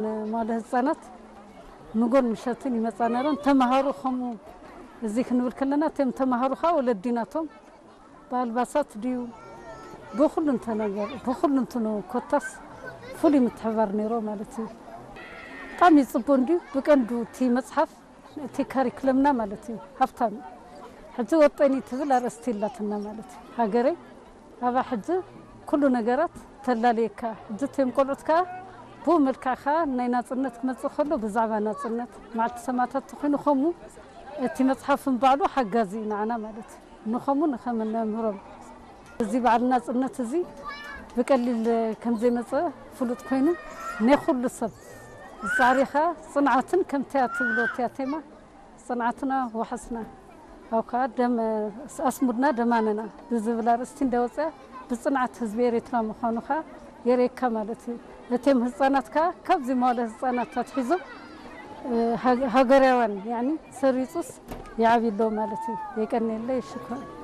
ንመዋለ ህፃናት ንጎን ምሸትን ይመፃ ነረን። ተምሃሮ ከምኡ እዚ ክንብል ከለና እቶም ተምሃሮ ከዓ ወለዲ ናቶም ብኣልባሳት ድዩ ብኩሉ እንተ ነገር ብኩሉ እንትኑ ኮታስ ፍሉይ ምትሕባር ነይሮ ማለት እዩ። ብጣዕሚ ይፅቡ እንድዩ። ብቀንዱ እቲ መፅሓፍ እቲ ካሪክለምና ማለት እዩ ሃብታም እዩ። ሕጂ ወጠኒ ትብል ኣርእስቲ ይላትና ማለት እዩ። ሃገረይ ኣባ ሕጂ ኩሉ ነገራት ተላለየካ። ሕጂ እቶም ቆልዑት ከዓ ብኡ መልክዕ ከዓ ናይ ናፅነት ክመፅእ ከሎ ብዛዕባ ናፅነት መዓልቲ ሰማእታት ተኮይኑ ከምኡ እቲ መፅሓፍን ባዕሉ ሓጋዚ እዩ ንዓና ማለት እዩ። ንኸምኡ ንኸም እነምህሮም እዚ በዓል ናፅነት እዚ ብቀሊል ከም ዘይመፀ ፍሉጥ ኮይኑ ናይ ኩሉ ሰብ ዛዕሪኻ ጽንዓትን ከምቲያ ትብሎ እቲያ ቴማ ጽንዓትና ወሓስና ኣብ ከዓ ደም ኣስሙድና ደማነና ብዝብል ኣርእስቲ እንዳወፅያ ብጽንዓት ህዝቢ ኤርትራ ምዃኑ ከዓ የርእየካ ማለት እዩ። እቶም ህፃናት ከዓ ካብዚ መዋለ ህፃናት ኣትሒዞም ሃገራውያን ያኒ ሰሪፁስ ይዓብዩ ኣለዉ ማለት እዩ። የቀንየለይ ሽኮር።